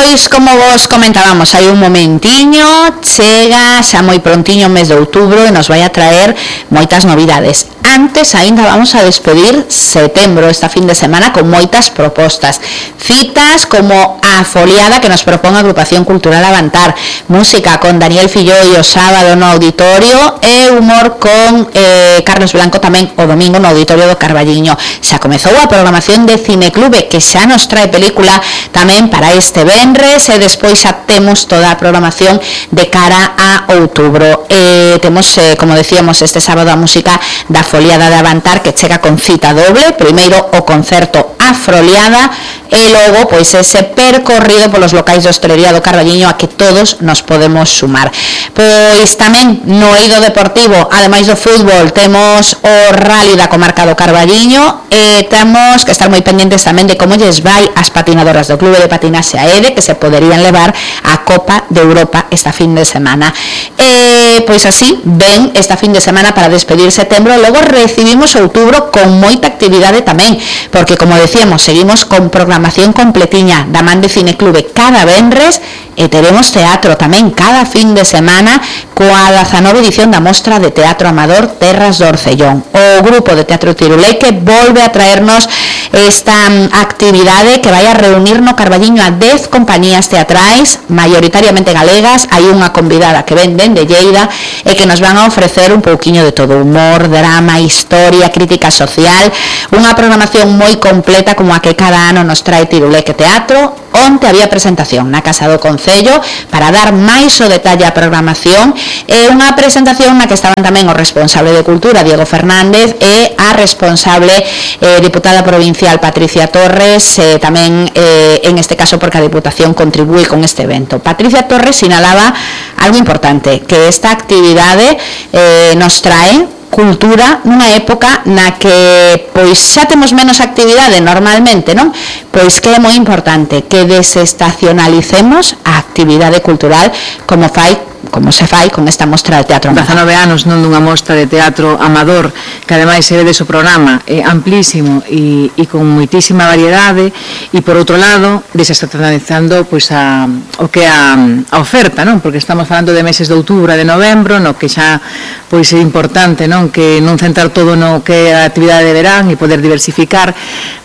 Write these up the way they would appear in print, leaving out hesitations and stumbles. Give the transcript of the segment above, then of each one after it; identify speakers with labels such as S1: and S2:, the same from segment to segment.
S1: Pois, como vos comentábamos, hai un momentiño, chega xa moi prontiño o mes de outubro e nos vai a traer moitas novidades. Antes, aínda vamos a despedir setembro, esta fin de semana, con moitas propostas. Citas como a foliada que nos propón a Agrupación Cultural Avantar, música con Daniel Filloi o sábado no auditorio e humor con Carlos Blanco tamén o domingo no auditorio do Carballiño. Xa comezou a programación de Cineclube, que xa nos trae película tamén para este venres e despois xa temos toda a programación de cara a outubro. Temos, como decíamos, este sábado a música da foliada de Avantar, que chega con cita doble, primeiro o concerto A Froliada e logo pois ese percorrido polos locais de hostelería do Carballiño a que todos nos podemos sumar. Pois tamén no eido deportivo, ademais do fútbol, temos o rally da comarca do Carballiño e temos que estar moi pendentes tamén de como lles vai as patinadoras do Clube de Patinaxe AEDE, que se poderían levar a Copa de Europa esta fin de semana. Pois así, ven esta fin de semana para despedir setembro, logo recibimos outubro con moita actividade tamén, porque como decíamos, seguimos con programación completiña da man de Cineclube cada venres e teremos teatro tamén cada fin de semana coa 19 edición da Mostra de Teatro Amador Terras do Orcellón. O grupo de Teatro Tiruleque volve a traernos esta actividade que vai a reunir no Carballiño a 10 compañías teatrais, maioritariamente galegas. Hai unha convidada que ven de Lleida e que nos van a ofrecer un pouquiño de todo: humor, drama, historia, crítica social, unha programación moi completa como a que cada ano nos trae Tiruleque Teatro. Onte había presentación na Casa do Concello para dar máis o detalle á programación, e unha presentación na que estaban tamén o responsable de Cultura, Diego Fernández, e a responsable diputada provincial, Patricia Torres, tamén en este caso porque a Diputación contribúe con este evento. Patricia Torres sinalaba algo importante, que esta actividade nos trae cultura nunha época na que pois xa temos menos actividade normalmente, non? Pois que é moi importante que desestacionalicemos a actividade cultural como se fai con esta mostra de teatro amador.
S2: 19 anos non dunha mostra de teatro amador, que ademais se vedes o programa amplísimo e con moitísima variedade, e por outro lado desestacionalizando pois o que é a oferta, non? Porque estamos falando de meses de outubro e de novembro, no que xa pois é importante, non? Que non centrar todo no que é a actividade de verán e poder diversificar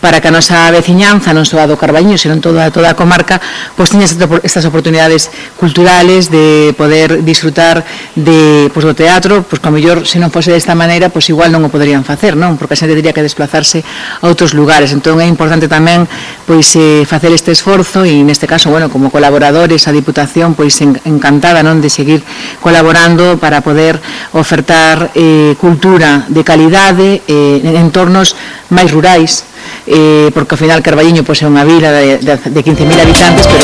S2: para que a nosa veciñanza, non só a do Carballiño, senón toda a comarca, pois teña estas oportunidades culturales de poder disfrutar do teatro, pois que a mellor se non fose desta maneira, pois igual non o poderían facer, non? Porque a xente teria que desplazarse a outros lugares. Entón é importante tamén pois facer este esforzo, e neste caso, bueno, como colaboradores a Diputación pois encantada, non, de seguir colaborando para poder ofertar cultura de calidade en entornos máis rurais, porque ao final Carballiño pois é unha vila de 15.000 habitantes, pero